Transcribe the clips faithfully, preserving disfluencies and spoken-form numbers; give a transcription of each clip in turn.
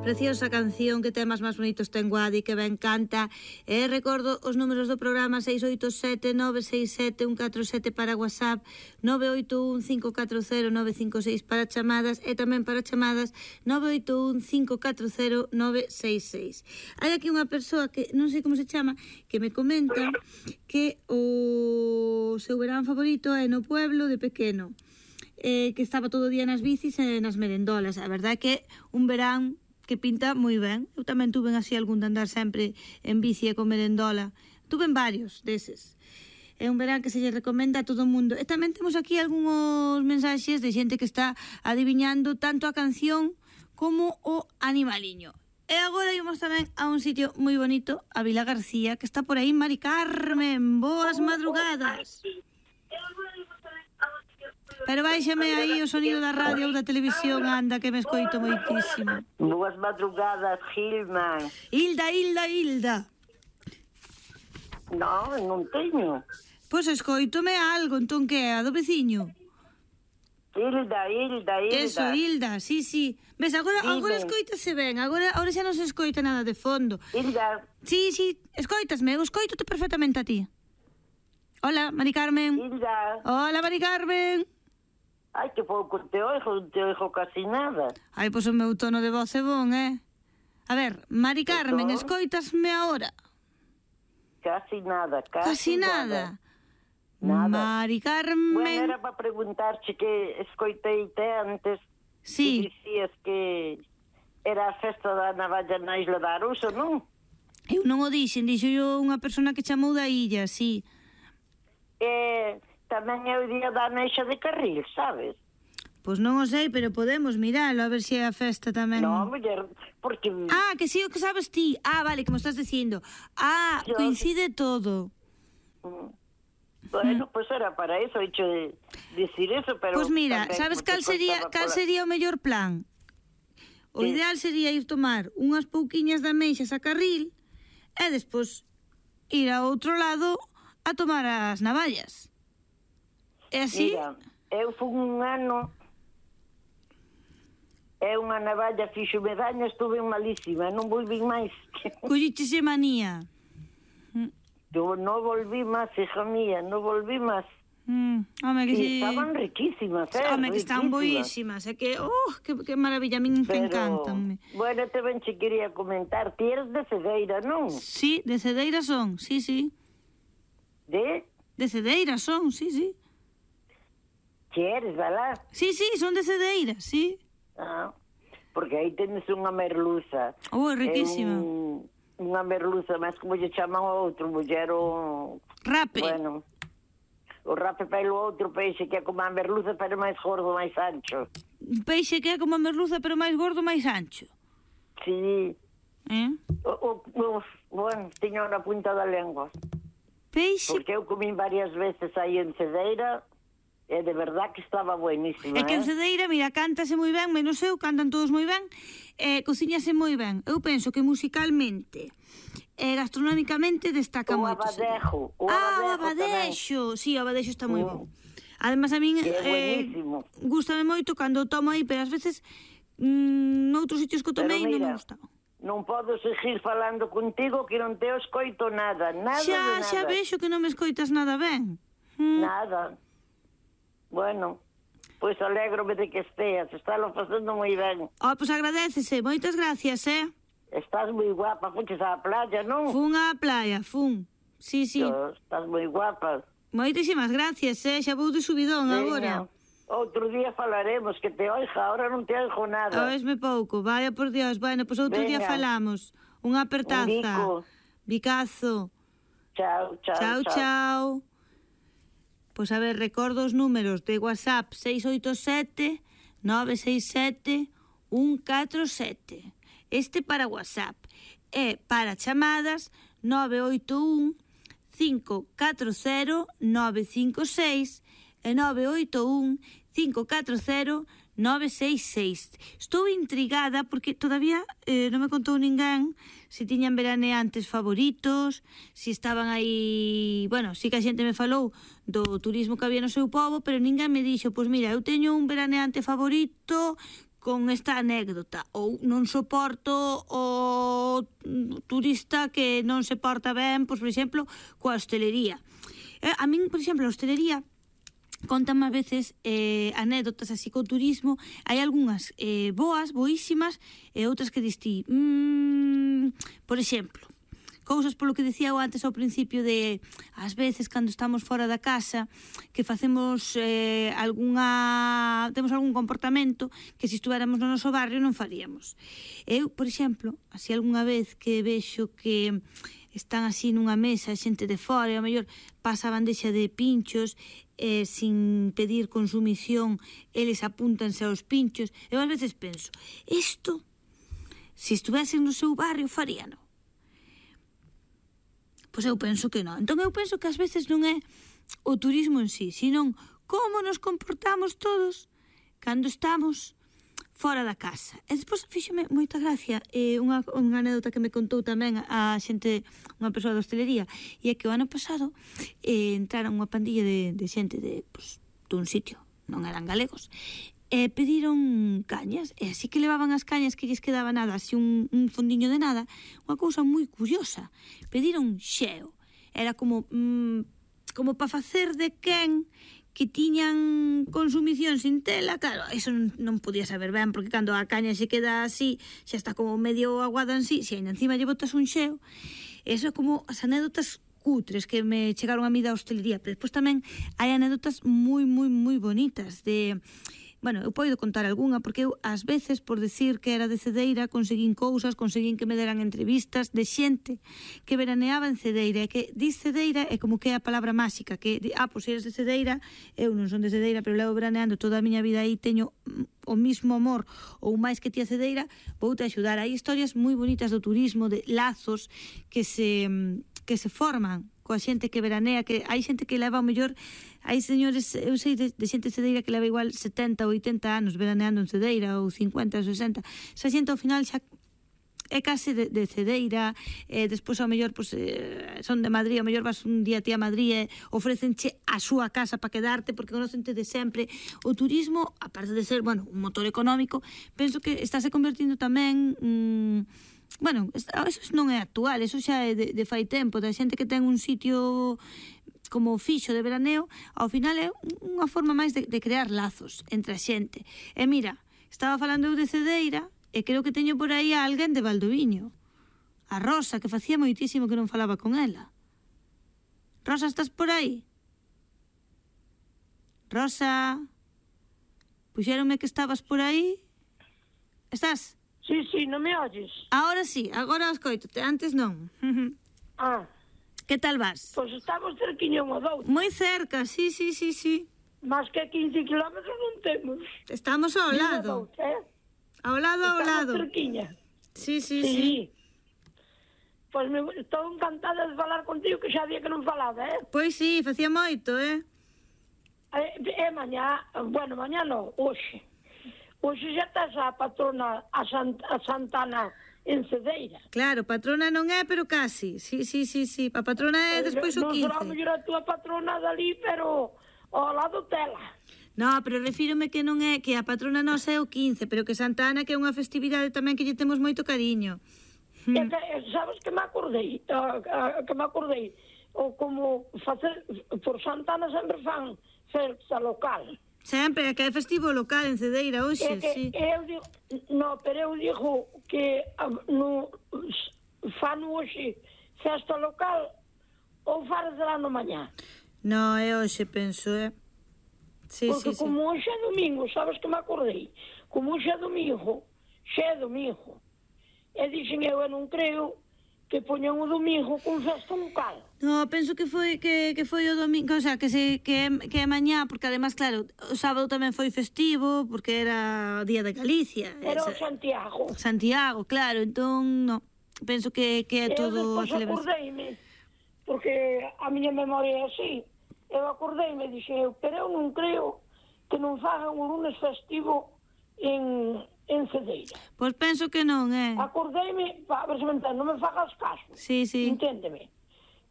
Preciosa canción, que temas máis bonitos ten Guadi, que ben canta. E recordo os números do programa: seis oito sete nove seis sete un catro sete para WhatsApp, nove oito un cinco catro cero nove cinco seis para chamadas, e tamén para chamadas nove oito un cinco catro cero nove seis seis. Hai aquí unha persoa que non sei como se chama, que me comenta que o seu verán favorito é no pueblo de pequeno, eh, que estaba todo o día nas bicis e nas merendolas. A verdade é que un verán que pinta moi ben. Eu tamén tuve así algún de andar sempre en bici e con merendola. Tuve varios deses. É un verán que se lle recomenda a todo o mundo. E tamén temos aquí algúns mensaxes de xente que está adiviñando tanto a canción como o animaliño. E agora ímos tamén a un sitio moi bonito, a Vila García, que está por aí Mari Carmen. Boas madrugadas. Pero báixame aí o sonido da radio ou da televisión, anda, que me escoito moitísimo. Boas madrugadas, Gilma. Hilda, Hilda, Hilda. Non, non teño. Pois escoitome algo, entón que é? A do veciño? Hilda, Hilda, Hilda. Eso, Hilda, sí, sí. Ves, agora, agora escoítase ben, agora, agora xa non se escoita nada de fondo. Hilda. Sí, sí, escoitasme, eu escoitote perfectamente a ti. Hola, Mari Carmen. Hilda. Hola, Mari Carmen. Ai, que pouco te oigo, non te oigo casi nada. Ai, pois o meu tono de voz é bon, eh? A ver, Mari Carmen, escoitasme agora? Casi nada, casi, casi nada. Nada. Mari Carmen... Bueno, era para preguntarche que escoiteite antes. Sí. Que dicías que era a festa da navalla na Isla da Arousa, non? Eu non o dixen, dixo yo unha persona que chamou da illa, sí. E tamén é o día da Neixa de Carril, sabes? Pois non o sei, pero podemos miralo, a ver se é a festa tamén. Non, muller, porque... Ah, que sí, o que sabes ti. Ah, vale, que me estás dicindo. Ah, yo... coincide todo. Mm. Bueno, pois pues era para eso, hecho de decir eso, pero... Pois pues mira, sabes cal sería cal sería o mellor plan? O sí. Ideal sería ir tomar unhas pouquiñas de ameixas a Carril e despois ir a outro lado a tomar as navallas. É así? Mira, eu fui un ano e unha navalla fixo medaña, estuve malísima, non volví máis. Collichese manía. Eu non volví máis, hija mía, non volví máis. Mm, home, que sí. Estaban riquísimas, eh? Home, que están boísimas, é que, oh, que, que maravilla, a min me encantan. Bueno, te ben che quería comentar, ti eres de Cedeira, non? Sí, de Cedeira son, sí, sí. De? De Cedeira son, sí, sí. Que eres, verdad? Sí, sí, son de Cedeira, sí. Ah, porque aí tenes unha merluza. Oh, é riquísima. Un, unha merluza, mas como lle chaman o outro, muller o... Rape. Bueno, o rape pelo outro peixe que é como a merluza, pero máis gordo, máis ancho. Un peixe que é como a merluza, pero máis gordo, máis ancho. Sí. Eh? O, o, o, bueno, tiño na punta da lengua. Peixe... Porque eu comín varias veces aí en Cedeira... É de verdad que estaba buenísima, é que en eh? Cedeira, mira, cántase moi ben, menos eu, cantan todos moi ben, eh, cociñase moi ben. Eu penso que musicalmente e eh, gastronómicamente destaca o moito. Abadejo, o ah, Abadejo, o Abadejo, sí, o Abadejo está moi mm. bon. Además a min eh, gustame moito cando o tomo aí, pero ás veces mm, noutros sitios que o tomei non me gustaba. Non podo seguir falando contigo que non te escoito nada, nada xa, de nada. Xa vexo que non me escoitas nada ben. Mm. Nada. Bueno, pois pues alégrome de que esteas, estalo facendo moi ben. Oh, pois pues agradécese, moitas gracias, eh? Estás moi guapa, fuches á playa, non? Fun á playa, fun. Sí, sí. Yo, estás moi guapa. Moitísimas gracias, eh? Xa vou de subidón Veña. agora. Outro día falaremos, que te oiga, ahora non te oigo nada. Oesme pouco, vaya por Dios. Bueno, pois pues outro Veña. Día falamos. Unha apertaza. Un bico. Bicazo. Chao, chao, chao. Chao, chao. Pois a ver, recordo os números de WhatsApp seis oito sete nove seis sete un catro sete. Este para WhatsApp. E para chamadas nove oito un cinco catro cero nove cinco seis e nove oito un cinco catro cero nove seis seis. Estou intrigada porque todavía eh, non me contou ninguén se tiñan veraneantes favoritos, se estaban aí... Bueno, sí que a xente me falou do turismo que había no seu pobo, pero ninguén me dixo, pois mira, eu teño un veraneante favorito con esta anécdota, ou non soporto o turista que non se porta ben, pois, por exemplo, coa hostelería. Eh, a min, por exemplo, a hostelería contame a veces eh, anécdotas así co turismo, hai algunhas eh, boas, boísimas, e outras que distí. Mm, por exemplo, cousas polo que dicía eu antes ao principio de, ás veces, cando estamos fora da casa, que facemos eh, algunha... temos algún comportamento que se estuéramos no noso barrio non faríamos. Eu, por exemplo, así algunha vez que vexo que están así nunha mesa, xente de fora, e ao mellor pasa a bandexa de pinchos, eh, sin pedir consumición, eles apúntanse aos pinchos. Eu ás veces penso, isto, se estuvesen no seu barrio, faríano. Pois eu penso que non. Entón eu penso que ás veces non é o turismo en sí, senón como nos comportamos todos cando estamos fora da casa. E despois fíxome moita gracia eh, unha, unha anécdota que me contou tamén a xente, unha persoa da hostelería, e é que o ano pasado eh, entraron unha pandilla de, de xente de, pues, dun sitio, non eran galegos, e pediron cañas, e así que levaban as cañas que lles quedaba nada, así un, un fondiño de nada, unha cousa moi curiosa, pediron xeo, era como mm, como para facer de quen que tiñan consumición sin tela. Claro, eso non, non podía saber ben, porque cando a caña se queda así, xa está como medio aguada en sí, se ainda encima lle botas un xeo, eso é como as anécdotas cutres que me chegaron a mí da hostelería. Pero despois tamén hai anécdotas moi, moi, moi bonitas de... Bueno, eu podo contar algunha, porque eu, ás veces, por decir que era de Cedeira, conseguín cousas, conseguín que me deran entrevistas de xente que veraneaba en Cedeira, e que dis Cedeira é como que é a palabra máxica, que, ah, pois eres de Cedeira, eu non son de Cedeira, pero levo veraneando toda a miña vida aí, teño o mismo amor, ou máis que ti a Cedeira, vou te axudar. Hai historias moi bonitas do turismo, de lazos que se, que se forman coa xente que veranea, que hai xente que leva o mellor, hai señores, eu sei de, de xente de Cedeira que leva igual setenta ou oitenta anos veraneando en Cedeira, ou cincuenta ou sesenta, esa xente ao final xa é case de, de Cedeira, e despois ao mellor pues, eh, son de Madrid, ao mellor vas un día ti a Madrid e ofrecenche a súa casa para quedarte porque conocente de sempre. O turismo, aparte de ser, bueno, un motor económico, penso que estáse convertindo tamén... Mmm, bueno, eso non é actual, eso xa é de, de fai tempo, da xente que ten un sitio como fixo de veraneo, ao final é unha forma máis de, de crear lazos entre a xente. E mira, estaba falando eu de Cedeira, e creo que teño por aí a alguén de Valdoviño, a Rosa, que facía moitísimo que non falaba con ela. Rosa, estás por aí? Rosa, puxéronme que estabas por aí? Estás? Sí, sí, non me oyes? Ahora sí, agora escoitote, antes non. Ah. Que tal vas? Pois estamos cerquiño unha doutra. Moi cerca, sí, sí, sí, sí. Más que quince kilómetros non temos. Estamos ao lado. Doutra, eh? Ao lado, ao lado. Estamos cerquiña. Sí, sí, sí. sí. Pois me, estou encantada de falar contigo, que xa día que non falaba, eh? Pois sí, facía moito, eh? É, é mañá, bueno, mañá non, hoxe. Hoxe xa estás a patrona, a, Sant, a Santana en Cedeira. Claro, patrona non é, pero casi. Sí, sí, sí, sí. A patrona é despois o quince. Non será mellor a túa patrona dali, pero ao lado tela. No, pero refírome que non é, que a patrona nosa é o quince, pero que Santa Ana que é unha festividade tamén que lle temos moito cariño. E que, sabes que me acordei, uh, uh, que me acordei, o como facer, por Santa Ana sempre fan festa local. Sempre, que é festivo local en Cedeira hoxe, é que sí. Eu digo, no, pero eu digo que uh, no, fan hoxe festa local ou farasela no mañá. No, é hoxe, penso, é. Sí, Porque sí, sí. como hoxe é domingo, sabes que me acordei? Como hoxe é domingo, xe é domingo. E dixen eu, eu non creo que poñan o domingo con festa local. No, penso que foi que, que foi o domingo, o sea, que se que é, que é mañá, porque además, claro, o sábado tamén foi festivo, porque era o día de Galicia. Era o esa, Santiago. Santiago, claro, entón, no, penso que, que é todo a celebración. Eu acordeime, porque a miña memoria é así, eu acordeime, dixen eu, pero eu non creo que non fagan un lunes festivo en... en Cedeira. Pois penso que non, é. Acordeime, a ver se me entendo, non me fagas caso. Sí, sí. Enténdeme.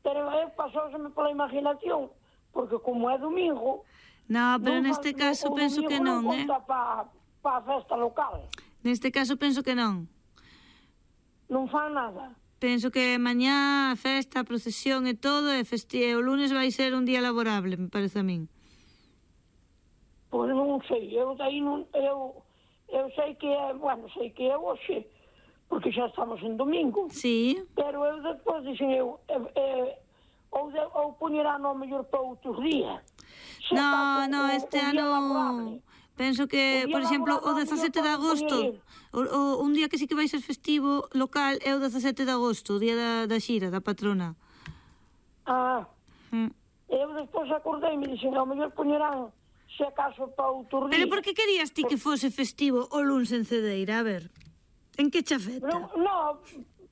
Pero eu pasouseme pola imaginación, porque como é domingo... No, pero neste caso penso que non, non é. conta pa, para a festa local. Neste caso penso que non. Non fan nada. Penso que mañá a festa, a procesión e todo, e festi... o lunes vai ser un día laborable, me parece a min. Pois non sei, eu daí non... Eu, eu sei que é, bueno, sei que é hoxe, porque xa estamos en domingo. Sí. Pero eu despois dixen eu, eh, eh, ou, de, ou poñerá no mellor para outros días. Se No, está, no, o, este o día ano... laborable. Penso que, O día por exemplo, o laborable dezasete de eu podo agosto, o, o, un día que sí que vai ser festivo local é o dezasete de agosto, o día da, da xira, da patrona. Ah, Mm. eu despois acordei e me dixen, ao mellor poñerán, se acaso, para outros días. Pero por que querías ti que fose festivo o luns en Cedeira? A ver, en que che afecta? Non, no,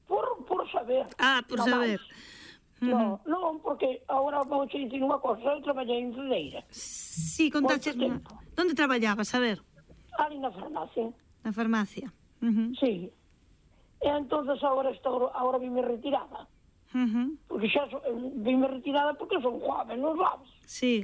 por, por saber. Ah, por no saber. máis. No, non, porque agora vou che dicir unha cosa, eu traballei en Cedeira, Sí, contaches... Moito tempo. Onde traballabas, a ver? ali na farmacia, Na farmacia. Uh -huh. sí. E entonces agora estou, agora vime retirada, Uh -huh. porque xa so, vime retirada porque son joven, non sabes? Sí.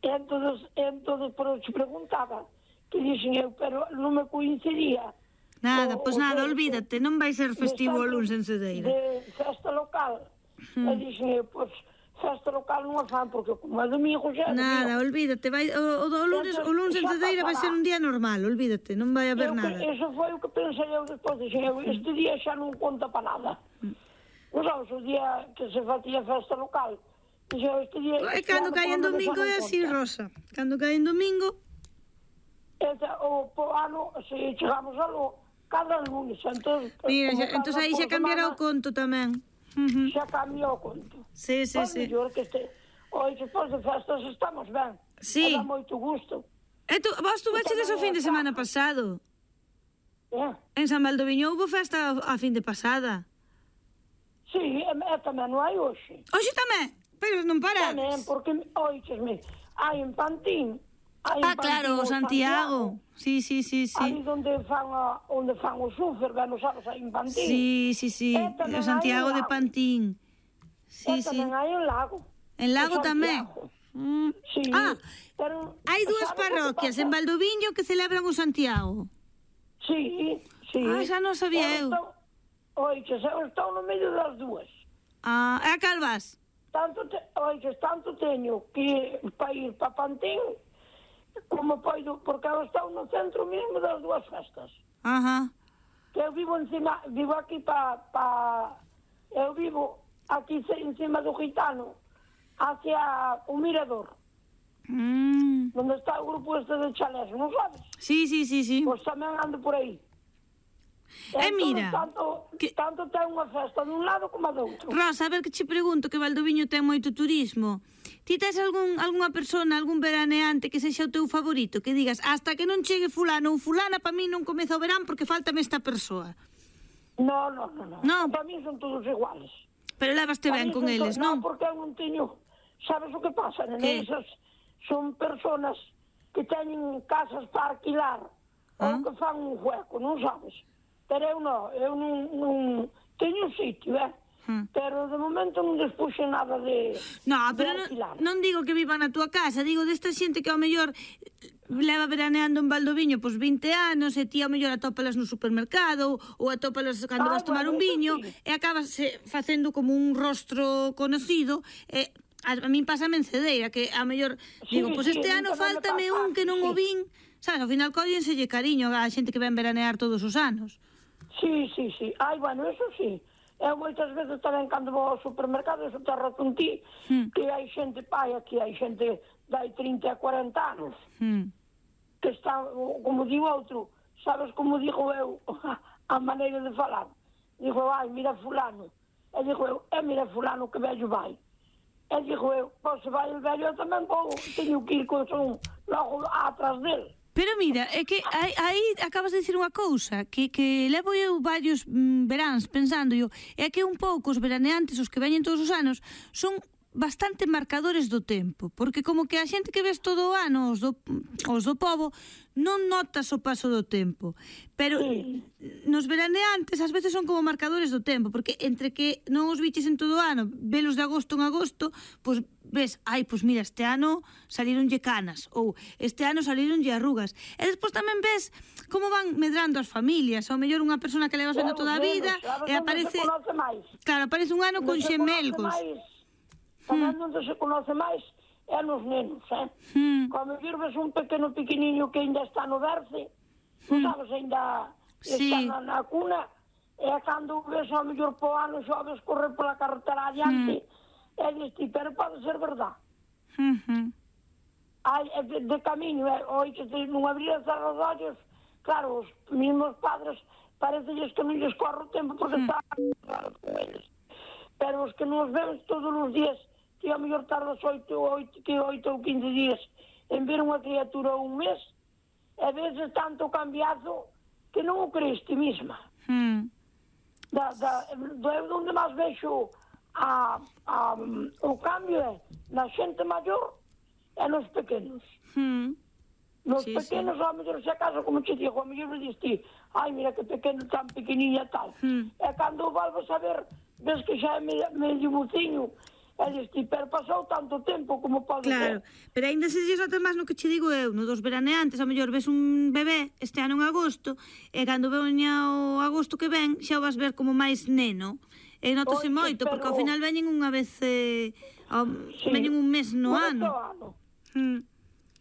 E entonces, entonces, pero te preguntaba, que dixen eu, pero non me coincidía. Nada, o- pois o nada, de- olvídate, non vai ser de festivo o estar luns en Cedeira. De festa local. E dixen eu, pois, festa local non a fan, porque como é domingo xa... é Nada, domingo. olvídate, vai, o, o, do lunes, o luns en Cedeira vai ser un día normal, olvídate, non vai haber Eu que- nada. Eso foi o que pensei eu despois, dixen eu, este día xa non conta para nada. Non sabes, o día que se facía festa local, dixen eu, este día... E este cando ano, cae en polo menos, xa domingo non é así, conta. Rosa. Cando cae en domingo, Ese, o po ano, se chegamos a lo, cada lunes, entón... mira, como xa, cada entón aí xa por cambiará o semana, conto tamén. Uh -huh. Xa cambiou o conto. Sí, sí, Pois sí. mellor que este... Hoy, despois de festas, estamos ben. Sí. E dá moito gusto. E tu, vos tuvechedes o fin de semana pasado. Eh? En San Valdoviño houve festa a fin de pasada. Sí, e, e tamén non hai hoxe. Hoxe tamén, pero non Tamén, parades. porque, oíchesme, hai en Pantín. Hai Ah, en claro, o Pantín Santiago. Sí, sí, sí, sí. Ali onde fan, a, onde fan o súfer, ben, non sabes, hai en Pantín. Sí, sí, sí. E tamén O Santiago hai en de Lago. Pantín. Sí, E sí. tamén hai en Lago. En Lago O tamén. Santiago. Mm. Sí, Ah, pero... hai dúas sabes o que parroquias pasa? en Valdoviño que celebran o Santiago. Sí, sí. Ah, xa non sabía eu. Estou, oiches, eu estou no medio das dúas. Ah, e a Calvas? Tanto, te, oiches, tanto teño que para ir para Pantín, como poido, porque eu estou no centro mesmo das dúas festas. Ajá. Que eu vivo encima, vivo aquí para, pa, eu vivo aquí ce- encima do Gitano, hacia o Mirador, Mm. onde está o grupo este de chalés, non sabes? Sí, sí, sí, sí. Pois tamén ando por aí. E Entón, mira, tanto, que- tanto ten unha festa dun lado como a do outro. Rosa, a ver que che pregunto, que Valdoviño ten moito turismo. Ti tes algún, algunha persona, algún veraneante que sexa o teu favorito? Que digas, hasta que non chegue fulano ou fulana, para mí non comeza o verán porque faltame esta persoa. No, no, no, no. No. Para mí son todos iguales. Pero levaste Para ben mí con son eles, todos- non? No, porque eu non teño... Sabes o que pasa, nene? Que? Esas son personas que teñen casas para alquilar Ah. ou que fan un hueco, non sabes? Pero eu non, eu non, non teño un sitio, eh? Hmm. Pero de momento non despuxe nada de, No, de pero non, alquilar. non digo que vivan na túa casa, digo desta xente que ao mellor leva veraneando en Valdoviño pois vinte anos e ti ao mellor atópalas no supermercado ou atópalas cando Ah, vas tomar bueno, un eso viño sí. e acabas eh, facendo como un rostro conocido e a, a min pásame en Cedeira que ao mellor Sí, digo, pois sí, este a min ano tamén me fáltame pasa, un que non o sí. vin, sabes, ao final collenselle cariño a xente que ven veranear todos os anos. Sí, sí, sí. Ai, bueno, eso sí. Eu moitas veces tamén cando vou ao supermercado, eso te razón ti, Hmm. que hai xente paia, que hai xente dai trinta a cuarenta anos, Hmm. que está, como digo outro, sabes como digo eu, a maneira de falar. Digo, ai, mira fulano. E digo eu, e mira fulano que vello vai. E digo eu, pois se vai o vello, eu tamén vou, teño que ir con son logo atrás dele. Pero mira, é que aí, aí acabas de dicir unha cousa que, que levo eu varios mm, veráns pensando yo, é que un pouco os veraneantes, os que veñen todos os anos, son bastante marcadores do tempo, porque como que a xente que ves todo o ano, os do, os do pobo, non notas o paso do tempo. Pero Sí. nos veraneantes ás veces son como marcadores do tempo, porque entre que non os biches en todo o ano, velos de agosto en agosto, pois ves, ai, pois mira, este ano salíronlle canas, ou este ano salíronlle arrugas. E despois tamén ves como van medrando as familias, ou mellor unha persona que levas vendo toda a vida, e aparece... Claro, aparece un ano con xemelgos. Tamén onde se conoce máis é nos nenos, eh? Hmm. Como vir ves un pequeno pequeniño que ainda está no berce, non sabes, ainda sí. está na, na cuna, e cando ves ao mellor po ano xa ves correr pola carretera adiante, hmm. e diste, pero pode ser verdad. Hmm. Ai, de, de camiño, eh? Oi, que non abrir e cerrar os ollos, claro, os mesmos padres parecelles que non lles corre o tempo porque hmm. están claro con eles. Pero os que nos vemos todos os días, que a mellor tardas oito, oito, que oito ou quince días en ver unha criatura un mes, e veces tanto cambiado que non o crees ti misma. Hmm. Da, da, do, onde máis vexo a, a, o cambio é na xente maior e nos pequenos. Hmm. Nos sí, pequenos, sí. ao mellor, se acaso, como te digo, ao mellor me diste, ai, mira que pequeno, tan pequeniña tal. Hmm. E cando volves a ver, ves que xa é medio buciño, e diste, pero pasou tanto tempo como pode claro. ser. Claro, pero ainda se dixes até máis no que che digo eu, no dos veraneantes, ao mellor ves un bebé este ano en agosto, e cando veña o agosto que ven, xa o vas ver como máis neno. E notase Oye, moito, pero... porque ao final veñen unha vez, eh, ao... sí. veñen un mes no ano. ano. Hmm.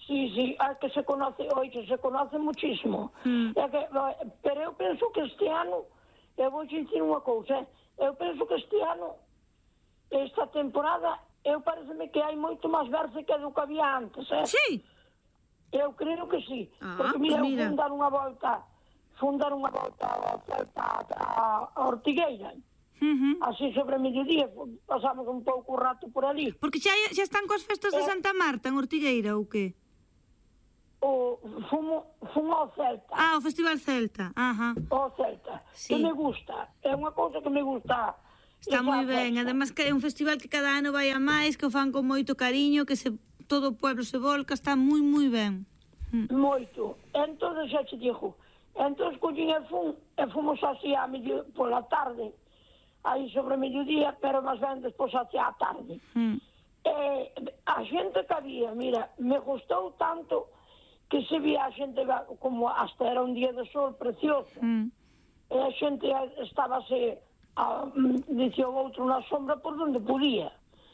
Sí, sí, é que se conoce, oye, se conoce muchísimo. Hmm. É que, pero eu penso que este ano, eu vou dicir unha cousa, eu penso que este ano, esta temporada, eu pareceme que hai moito máis verse que do que había antes, eh? Sí? Eu creo que sí, ah, porque mira, pues mira. eu fun dar unha volta, fun dar unha volta a, a, a Ortigueira, uh-huh. así sobre mediodía, pasamos un pouco rato por ali. Porque xa, xa están coas festas de Santa Marta en Ortigueira, ou que? O, fumo, fumo ao Celta. Ah, o Festival Celta, ajá. O Celta, sí. que me gusta, é unha cousa que me gusta. Está moi ben, además que é un festival que cada ano vai a máis, que o fan con moito cariño, que se todo o pueblo se volca, está moi, moi ben. Moito. Entón, xa te digo, entón, collín e fun, e fomos así a medio, pola tarde, aí sobre mediodía, pero máis ben despois hacia a tarde. Mm. E a xente que había, mira, me gustou tanto que se vía a xente, como hasta era un día de sol precioso, mm. e a xente estábase... A, dicía o outro na sombra por donde podía.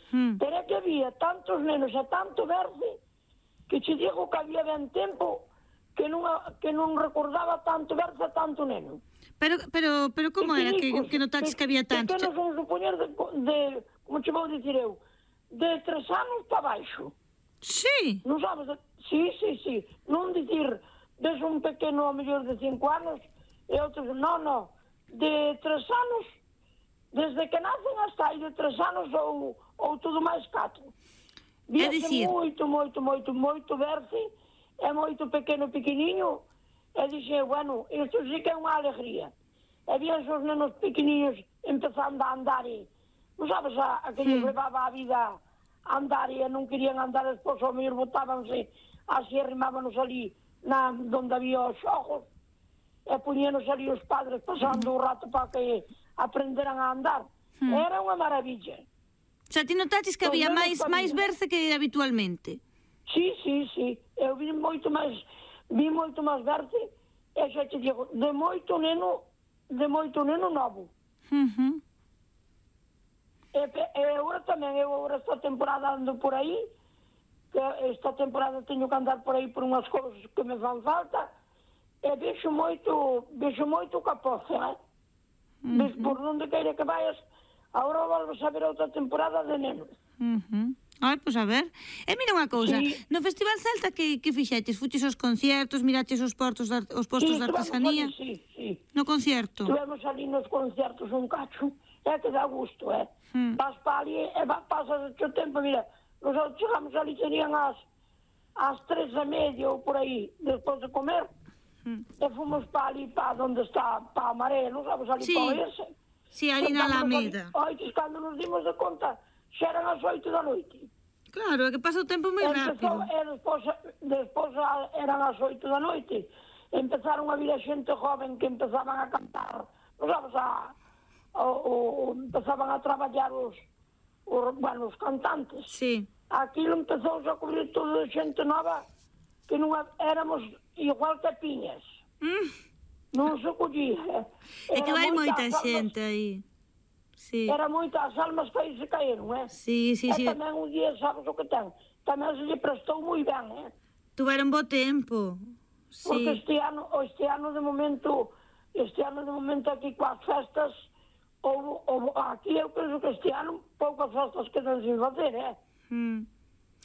Hmm. Pero é que había tantos nenos e tanto verde que che digo que había ben tempo que non, que non recordaba tanto verde e tanto neno. Pero, pero, pero como era que, que notaches que, que había tanto? Que non son supoñer de, de, como che vou dicir eu, de tres anos para baixo. Sí? Non sabes? De, sí, sí, sí. Non dicir, ves un pequeno a mellor de cinco anos e outros, non, non, de tres anos desde que nacen hasta aí de tres anos ou, ou tudo máis catro. É dicir... moito, moito, moito, moito verde, é moito pequeno, pequeniño, e dixe, bueno, isto sí que é unha alegría. E vían os nenos pequeniños empezando a andar e, non sabes, a, a que lles hmm. levaba a vida a andar e non querían andar, despois ao mellor botábanse, así arrimábanos ali, na, donde había os xogos, e poñíanos ali os padres pasando o rato para que aprenderan a andar. Hmm. Era unha maravilla. O sea, ti notaches que había máis máis verse que habitualmente? Sí, sí, sí. Eu vi moito máis vi moito máis verse e xa te digo, de moito neno de moito neno novo. Uh-huh. E, e agora tamén, eu agora esta temporada ando por aí, que esta temporada teño que andar por aí por unhas cousas que me fan falta, e vexo moito, vexo moito capoce, eh? Uh-huh. Por onde queira que vayas, agora volves a ver outra temporada de nenos. Uh-huh. Ai, pois a ver. E mira unha cousa, sí. No Festival Celta que, que fixetes? Fuches aos conciertos, miraches os portos de, os postos sí, de artesanía? Ali, sí, sí. No concierto? Estuvemos ali nos conciertos un cacho, é que dá gusto, é. Hmm. Vas para ali e pasas o tempo, mira, nosotros chegamos ali, serían as, as tres e media ou por aí, despois de comer, Hmm. e fomos para ali, para onde está, para a Marea, non sabes, ali sí. Para ese. Sí, ali na Alameda. Oito, cando nos dimos de conta, xa eran as oito da noite. Claro, é que pasa o tempo moi rápido. E despois, despois eran as oito da noite. Empezaron a vir a xente joven que empezaban a cantar, non sabes, a, o, o, empezaban a traballar os, os, bueno, os cantantes. Sí. aquilo empezou a cubrir toda a xente nova que non éramos igual que piñas. Mm. Non se collía. É que vai moita almas, xente aí. Sí. Era moitas almas que aí se caíron, eh? Sí, sí, e sí. tamén un día, sabes o que ten? Tamén se lle prestou moi ben, eh? Tuveron bo tempo. Porque Sí. este ano, este ano de momento, este ano de momento aquí coas festas, ou, ou aquí eu penso que este ano poucas festas quedan sin facer, eh? Mm.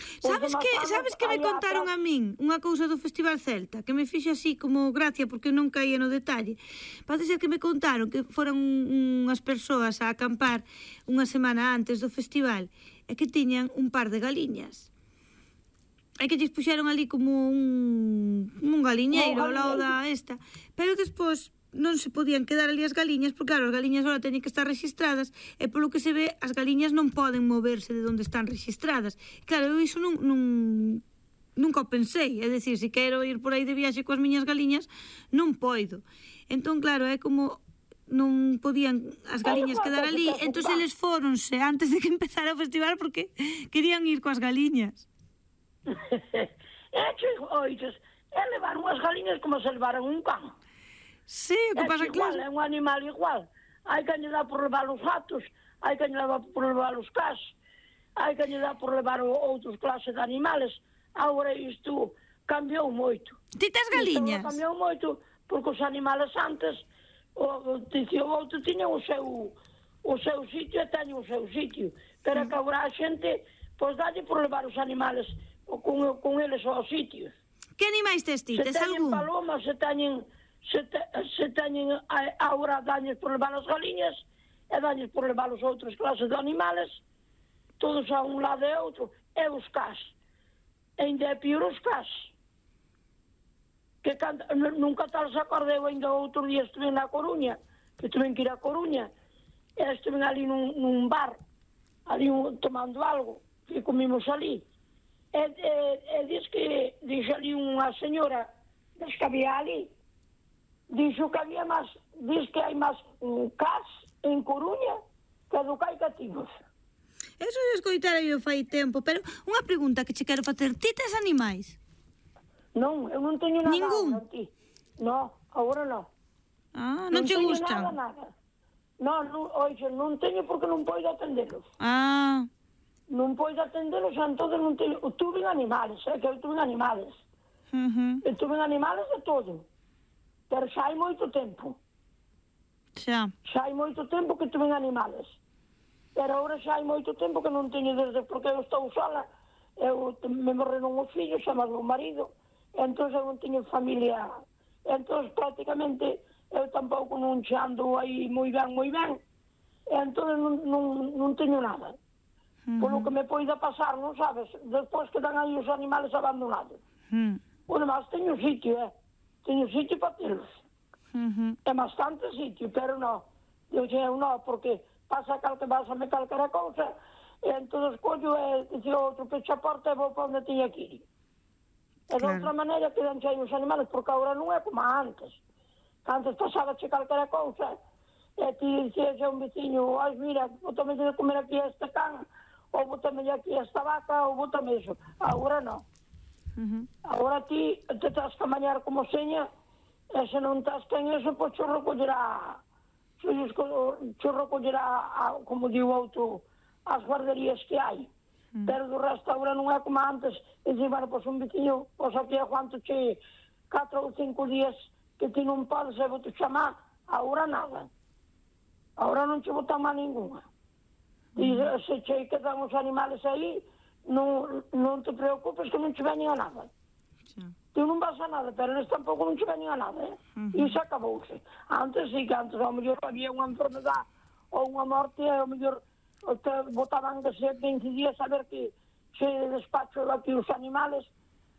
Os Sabes demás que, anos sabes que me hai contaron atrás- a min unha cousa do Festival Celta que me fixo así como gracia porque non caía no detalle. Pode ser que me contaron que foran un- unhas persoas a acampar unha semana antes do festival e que tiñan un par de galiñas. E que lles puxeron ali como un, un galiñeiro ao lado da esta. Pero despois non se podían quedar ali as galiñas, porque claro, as galiñas ahora teñen que estar registradas e polo que se ve, as galiñas non poden moverse de onde están registradas. Claro, eu iso non, non nunca o pensei, é dicir, se quero ir por aí de viaxe coas miñas galiñas, non poido. Entón, claro, é como non podían as galiñas quedar ali, entón eles fóronse antes de que empezara o festival porque querían ir coas galiñas. E che, oites, e levaron as galiñas como se levaran un can. Sí, o que É pasa, igual, claro. é un animal igual. Hai que lle dar por levar os gatos, hai que lle dar por levar os cas, hai que lle dar por levar o- outros clases de animales. Agora isto cambiou moito. Ti tes galiñas? Isto cambiou moito, porque os animales antes, o, o, o outro tiña o seu, o seu sitio e teñen o seu sitio. Pero que agora a xente, pois dalle por levar os animales o, con, con eles aos sitios. Que animais tes ti? Se Tes teñen algún? palomas, se teñen, se, te, se teñen a- agora dañes por levar as galiñas e dañes por levar os outros clases de animales, todos a un lado e outro, e os cas. E ainda é pior os cas. Que canta, n- nunca tal se acordeu, ainda outro día estuve na Coruña, que tuve que ir a Coruña, e estuve ali nun, nun bar, ali un, tomando algo, que comimos ali. E, e, e diz que, dixe ali unha señora das que había ali, dixo que había máis, diz que hai máis um, cas en Coruña que do que hai cativos. Eso de escoitar eu fai tempo, pero unha pregunta que che quero facer. Ti tes animais? Non, eu non teño nada Ningún? agora, ti. No, agora non. Ah, non che teño gustan? nada, nada. Non, non, oixe, non teño porque non podo atendelos. Ah, Non podo atendelos, entón non teño... Tuve animales, eh, que eu tuve animales. uh -huh. Eu tuve animales de todo. Pero xa hai moito tempo. Xa. Xa hai moito tempo que tuve animales. Pero agora xa hai moito tempo que non teño desde porque eu estou sola. Eu me morreron os fillos, xa máis o marido. Entón eu non teño familia. Entón prácticamente eu tampouco non xe ando aí moi ben, moi ben. Entón non, non, non teño nada. Uh -huh. Polo que me poida pasar, non sabes? Despois quedan aí os animales abandonados. Uh -huh. Bueno, mas teño sitio, eh? Teño sitio para telos. Uh -huh. É bastante sitio, pero non. Eu xe, eu non, porque pasa cal que vas a me calquera cousa, e entón collo e dicir outro pecha a porta e vou para onde teña que ir. E de Claro. outra maneira quedan xe os animales, porque agora non é como antes. Que antes pasaba che calquera cousa, e ti dicías a un veciño, ai, mira, bótame de comer aquí a este can, ou bótame aquí a esta vaca, ou bótame iso. Agora non. Uh -huh. Agora ti te tens que mañar como seña, e se non tens ten eso, pois xo recollerá, xo recollerá, a, como digo outro, as guarderías que hai. Mm. Pero do resto agora non é como antes, e dice, bueno, pois un veciño, pois aquí aguanto che catro ou cinco días que ti non podes, e vou te chamar, agora nada. Agora non che botan má ninguna. E mm. se che quedan os animales aí, non, non te preocupes que non che veñen a nada. Xa. Ti non vas a nada, pero eles tampouco non che veñen a nada, eh? Uh -huh. E iso acabouse. Antes sí que antes, ao mellor había unha enfermedade ou unha morte, ao mellor te botaban que ser veinte días a ver que se despacho aquí os animales,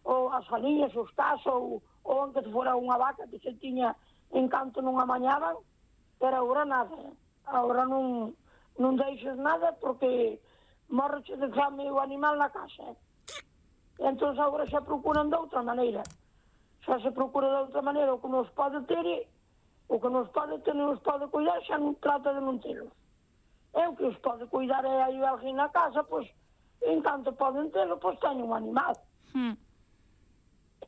ou as galiñas, os cas, ou, ou aunque fora unha vaca que se tiña encanto non amañaban, pero agora nada, eh? Agora non, non deixes nada porque morreche de fame o animal na casa, eh? Entón agora xa procuran de outra maneira. Xa se procura de outra maneira o que nos pode ter, o que nos pode ter, nos pode cuidar, xa non trata de non telos. É o que os pode cuidar, é aí alguén na casa, pois en canto poden telo, pois teñen un animal. Hmm.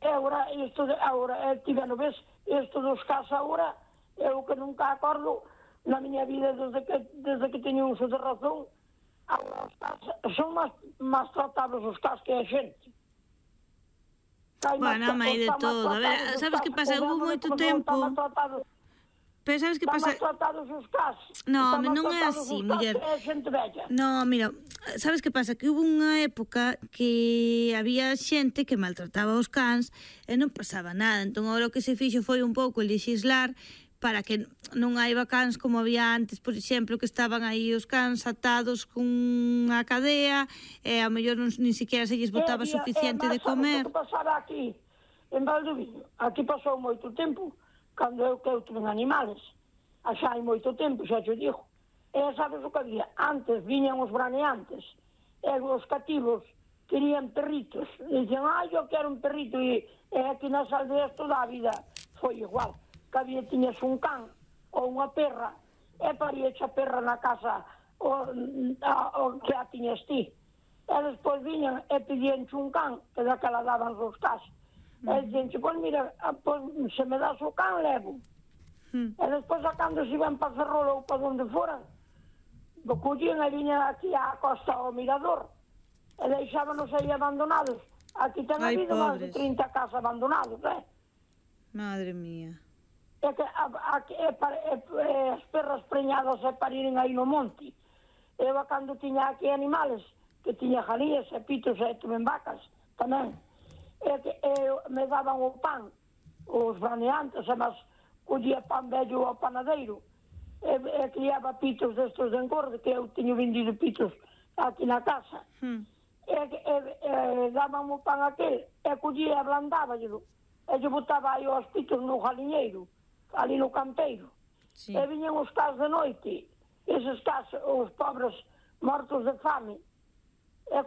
E agora, isto, de, agora, eh, tiveno, ves, isto dos cas agora, eu que nunca acordo na miña vida desde que, desde que teño uso de razón, agora os cas, son máis, máis tratables os cas que a xente. Bueno, hai de todo. A ver, sabes que pasa? Hubo moito tempo... Pero sabes que pasa? Están tratados os cas. No, non é así, muller. No, mira, sabes que pasa? Que hubo unha época que había xente que maltrataba os cans e non pasaba nada. Entón, agora o que se fixo foi un pouco legislar para que non haiba cans como había antes, por exemplo, que estaban aí os cans atados cunha cadea e ao mellor non, ni siquiera se lles botaba suficiente de comer. O que pasaba aquí, en Valdoviño, aquí pasou moito tempo, cando eu que eu tuve animales, xa hai moito tempo, xa te digo. E sabes o que había? Antes viñan os braneantes, e os cativos querían perritos, e dicen, ah, eu quero un perrito, e, e aquí nas aldeas toda a vida foi igual, que había, tiñas un can ou unha perra, e paríache a perra na casa o, a, o que a tiñas ti. E despois viñan e pedíanche un can, que daquela daban os cas. E dicen, pois mira, pois, se me das o can, levo. Mm. E despois, a cando se iban para Ferrol ou para onde foran, collían e viñan aquí á costa ao Mirador, e deixábanos aí abandonados. Aquí ten habido máis de trinta casas abandonados, eh? Madre mía. E que a, a, e, e, e, as perras preñadas e pariren aí no monte. Eu, a cando tiña aquí animales, que tiña jalías e pitos e tuven vacas, tamén. E que e, me daban o pan, os braneantes, e mas collía pan vello ao panadeiro, e, e criaba pitos destos de engorde, que eu teño vendido pitos aquí na casa. Hmm. E, e, e daban o pan aquel, e collía e ablandáballelo, e lle botaba aí os pitos no jaliñeiro, ali no campeiro. Sí. E viñen os cas de noite, eses cas, os pobres mortos de fame,